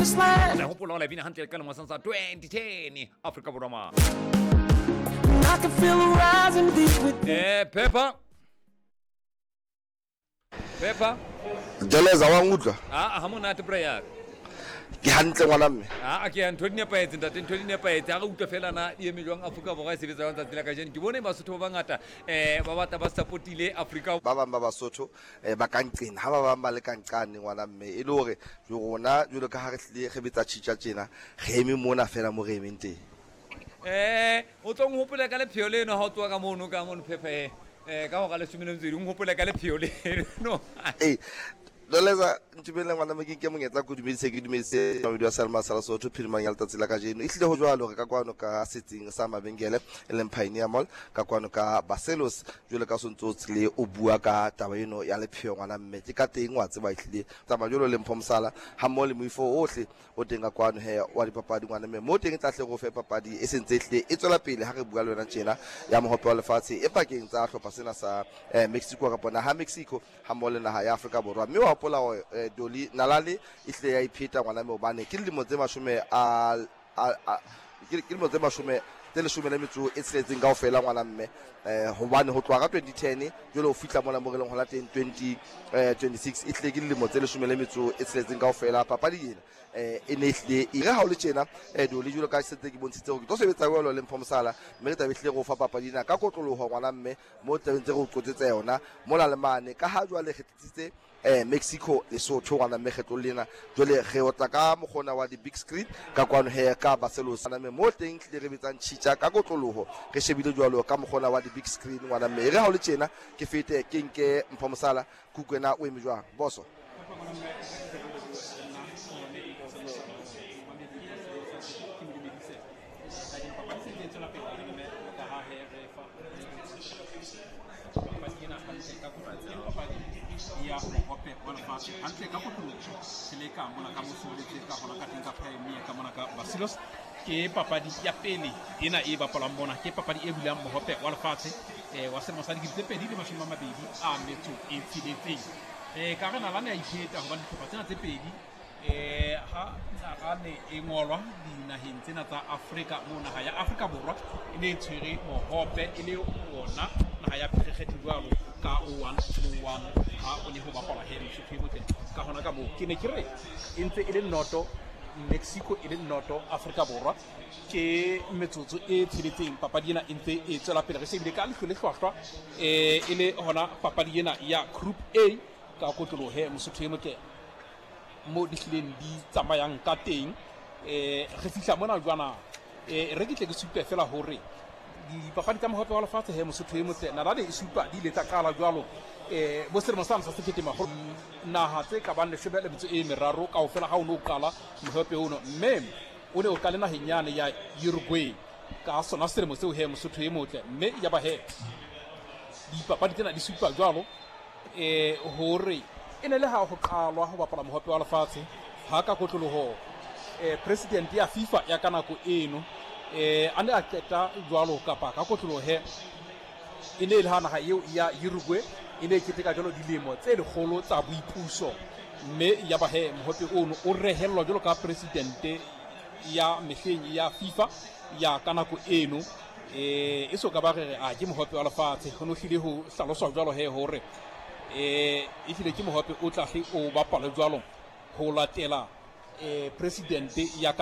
promised land. Re hopola la bina hantle ka lemo sa 2010 Afrika Borwa ma. And I can feel it rising deep within. Pepper. Pepper. Jeleza wa nkutlwa? Ah, ha monate prayer. Ke hantle ngwana mme. Ah, ke ntho di nepahetse ntate, ntho di nepahetse. Ha re utlwa fela na di eme jwang Afrika Borwa e sebetsa jwang tsatsi la kajeno. Ke bone Basotho ba bangata ba batla ba supportile Afrika. Ba bang ba Basotho ba ka nqena, ha ba bang ba le ka nqane ngwana mme. E le hore rona jwalo ka ha re hlile re betsa tjhitja tjena, re eme mona fela mo re emeng teng. O tlo nhopole ka lepheo leno ha o tsoa ka mono ka mono phephe ka hora leshome le metso e nhopole ka lepheo leno. Ee, Loleza ntumelle ngwana mme ke nke monyetla ke o dumedise, ke dumedise mamedi wa Salma sa Lesotho phirimang ya letsatsi la kajeno. Ehlile ho jwalo re ka kwano ka setsing sa mabenkele e leng Pioneer Mall ka kwano ka Barcelos. Jwalo ka o sontse o tsile o bua ka taba eno ya lepheo ngwana mme, ke ka teng wa tseba ehlile tsamaya jwalo le Mpho Mosala ha mmoho le moifo ohle o teng ka kwano he wa dipapadi ngwana mme, mo teng e tla hle re o fe papadi e sentse ehlile e tswela pele ha re bua le wena tjena ya mohope wa lefatshe e pakeng tsa hlopha sena sa Mexico kapa naha Mexico ha mmoho le naha ya Afrika Borwa. Mme wa hopola hore Dolly Nalale e hlile ya ipheta ngwana mme, hobane ke dilemo tse mashome a, a, a ke dilemo tse mashome tse leshome le metso e tsheletseng kaofela ngwana mme, hobane ho tloha ka 2010 jwale ho fihla mona mo re leng hona teng 2026 e hlile ke dilemo tse leshome le metso e tsheletseng kaofela. Papadi ena e ne e hlile e re ha o le tjena Dolly, jwalo ka setse ke bontshitse hore ke tlo sebetsa jwalo le Mpho Mosala, mme re tlabe hlile re o fa papadi ena ka kotloloho ngwana mme, mo tlabeng tse re o qotsetse yona mola le mane, ka ha jwale re tlisitse Mexico Lesotho ngwana mme kgetlong lena jwale re otla ka mokgona wa di-big screen ka kwano he ka Barcelos ngwana mme, mo teng tlile re betsang tjhitja ka kotloloho re shebile jwalo ka mokgona wa di-big screen ngwana mme. E re ha o le tjena ke fete ke nke Mpho Mosala Kukwena, o eme jwang boso? Ya mohope wa lefatshe hantle ka kotloloho re le ka mona ka mosoletse ka hona ka teng ka Pioneer ka mona ka Barcelos. Ke papadi ya pele ena e bapalwang mona, ke papadi e bulang mohope wa lefatshe wa selemo sa 2026. Ka re nalane ya ipheta hobane dihlopha tsena tse pedi ha nalane e ngolwa dinaheng tsena tsa Afrika, moo naha ya Afrika Borwa e ne e tshwere mohope e le ona naha ya pherekgetho jwalo ka 0101 ha o ne ho bapalwa he Mosotho e motle. Ka hona ka moo ke ne ke re e ntse e le noto Mexico e le noto Afrika Borwa, ke metsotso e tsheletseng papadi ena e ntse e tswela pele. Re shebile ka leihlo le hlwahlwa e le hona papadi ena ya Group A ka kotlolohe Mosotho e motle mo di hlileng di tsamayang ka teng. Re fihla mona jwana, re ke tle ke supe fela hore dipapadi tsa mohope wa lefatshe he Mosotho e motle nalane e supa di ile tsa qala jwalo bo selemo sane sa sekete makgolo naha tse ka bang leshome le metso e meraro kaofela ha o ne o qala mohope ono, mme o ne o qale naheng yane ya Uruguay ka sona selemo seo he Mosotho e motle. Mme ya ba he dipapadi tsena di supa jwalo hore e ne le ha ho qalwa ho bapala mohope wa lefatshe ha ka kotloloho president ya FIFA ya ka nako eno a ne a qeta jwalo kapa ka kotloloho he e ne e le ha naha eo ya Uruguay e ne e keteka jwalo dilemo tse lekgolo tsa boipuso, mme ya ba he mohope ono o rehellwa jwalo ka presidente ya mehleng ya FIFA ya ka nako eno. E so ka ba re a ke mohope wa lefatshe, ho no hlile ho hlaloswa jwalo he hore e hlile ke mohope o tla hle o bapalwe jwalo ho latela presidente ya ka.